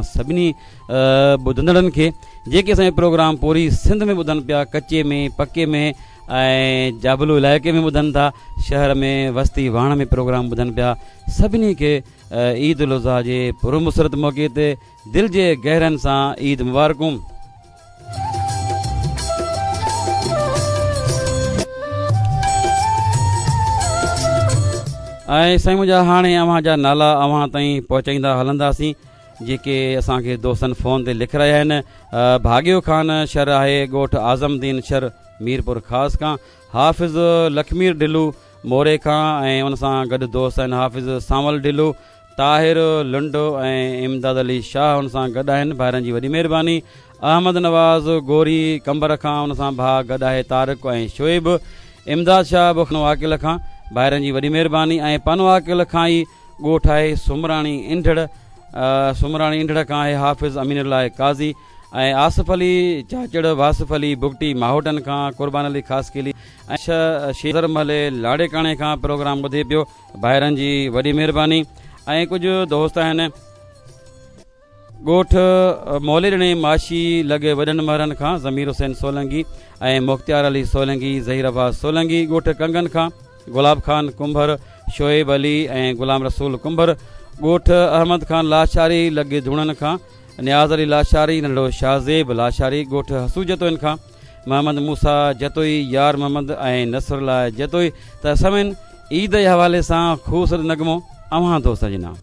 اوهان سڀني ٻڌندڙن کي جيڪي اسان جو پروگرام پوري سنڌ ۾ ٻڌن پيا ڪچي ۾ پڪي ۾ ۽ جابلو علائقي ۾ ٻڌن ٿا شهر ۾ وستي واهڻ ۾ پروگرام ٻڌن پيا سڀني کي عيد الاضحيٰ جي پرمسرت موقعي تي دل جي گهرن سان عيد مبارڪون. ۽ سائين منهنجا هاڻي اوهان جا نالا اوهان تائين پهچائيندا هلنداسين جيڪي اسان کي دوستن فون تي لکرايا آهن ڀاڳيو خان شر آهي ڳوٺ اعظم الدين شر ميرپور خاص کان حافظ لکمير ڍلو موري کان ۽ ان سان گڏ دوست آهن حافظ سانول ڍلو طاهر لنڊ ۽ امداد علي شاهه ان سان گڏ آهن ڀائرن جي وڏي مهرباني احمد نواز گوري قمبر کان ان سان ڀاء گڏ آهي طارق ۽ شعيب امداد شاهه به پنوعاقل کان ڀائرن جي وڏي مهرباني ۽ پنوعاقل کان ئي ڳوٺ آهي سمراڻي انڍڙ سمراڻي انڍڙ کان آهي حافظ امين الله قاضي ۽ آصف علي چاچڙ واصف علي بگٽي ماهوٽن کان قربان علي خاصخيلي ۽ شيزر محلي لاڙيڪاڻي کان پروگرام ٻڌي پيو ڀائرن جي وڏي مهرباني ۽ ڪجهه دوست آهن ڳوٺ موليڏڻي ماشي لڳ وڏن مهرن کان ضمير حسين سولنگي ۽ مختيار علي سولنگي ظهير عباس سولنگي ڳوٺ ڪنگن کان گلاب خان ڪنڀر شعيب علي ۽ غلام رسول ڪنڀر ڳوٺ احمد خان لاشاري لڳ ڌوڻن کان نياز علي لاشاري ننڍڙو شاهزيب لاشاري ڳوٺ حسو جتوئين کان محمد موسيٰ جتوئي يار محمد ۽ نصر الله جتوئي ته سمين عيد جي حوالي سان خوبصورت نغمو اوهان دوستن جي نام.